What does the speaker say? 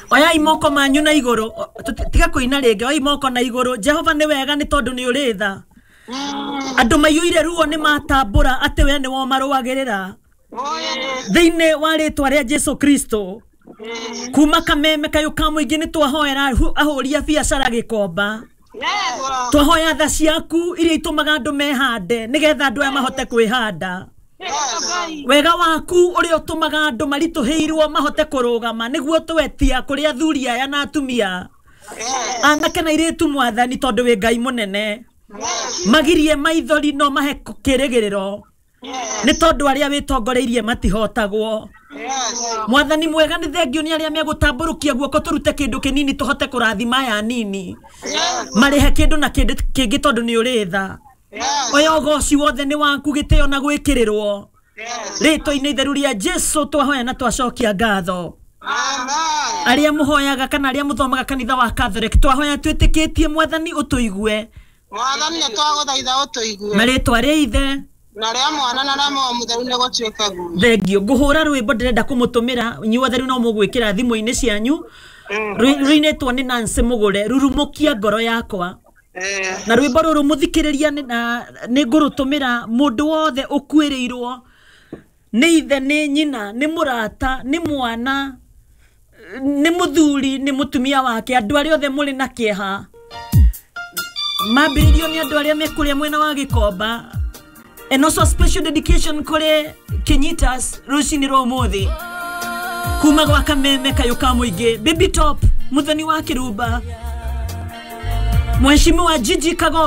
Oyai moko manyu na igũrũ, tiga kũina rĩngĩ, oyai moko na igũrũ. Jehova nĩ wega nĩ tondũ nĩ ũrĩ tha. Andũ maiyũire ruo nĩ matambũra atĩ we nĩwe ũmarũagĩrĩra. Thĩinĩ wa rĩtwa rĩa Jesu Kristo, kuma Kameme kayũ ka mũingĩ nĩ twahoera ahũri a biacara Gĩkomba. Twahoya tha ciaku iria itũmaga andũ mehande nĩgetha andũ aya mahote kwĩhanda. Wega waku ũrĩa ũtũmaga andũ maritũhĩirwo mahote kũrũgama nĩguo twetia kũrĩ athuri aya na atumia anake na airĩtu, Mwathani, tondũ wĩ Ngai mũnene. Magirie maithori no mahe kĩrĩgĩrĩro nĩ tondũ arĩa wĩtongoreirie matihotagwo. Mwathani mwega, nĩ thengio nĩ arĩa megũtambũrũkia guoko tũrute kĩndũ kĩnini tũhote kũrathima aya nini marĩhe kĩndũ na kĩndũ kĩngĩ tondũ nĩ ũrĩ tha. Oya ũgoci wothe nĩ waku, gĩtĩo na gwĩkĩrĩrwo. Rĩtwa-inĩ itheru rĩa Jesu twahoya na twacokia ngatho. Arĩa mũhoyaga kana arĩa mũthomaga kanitha wa Catholic, twahoya twĩtĩkĩtie Mwathani ũtũigue. Mwathani, nĩ twagũthaitha ũtũigue. Na rĩtwa rĩa Ithe na rĩa Mwana na rĩa Muoyo Mũtheru nĩ gũtuĩke guo. Thengio. Ngũhũra rwĩmbo ndĩrenda kũmũtũmĩra inyuothe rĩu no mũgwĩkĩra thimũ-inĩ cianyu. Rũinĩtwo nĩ Nancy Mũgũre, "Rurumũkia Ngoro Yakwa". Na rwĩmbo rũrũ, mũthikĩrĩria, nĩ ngũrũtũmĩra mũndũ wothe ũkuĩrĩirwo nĩ ithe, nĩ nyina, nĩ mũrata, nĩ mwana, nĩ mũthuri, nĩ mũtumia wake, andũ arĩa othe mũrĩ na kĩeha. Mambĩrĩrio nĩ andũ arĩa me kũrĩa mwena wa Gĩkomba, and also special dedication kũrĩ Kinyitas rũcinĩ rwa ũmũthĩ kuma gwa Kameme kayũ ka mũingĩ, Baby Top, Mũthoni wa Kĩrumba, Mheshimiwa Gigi Kago.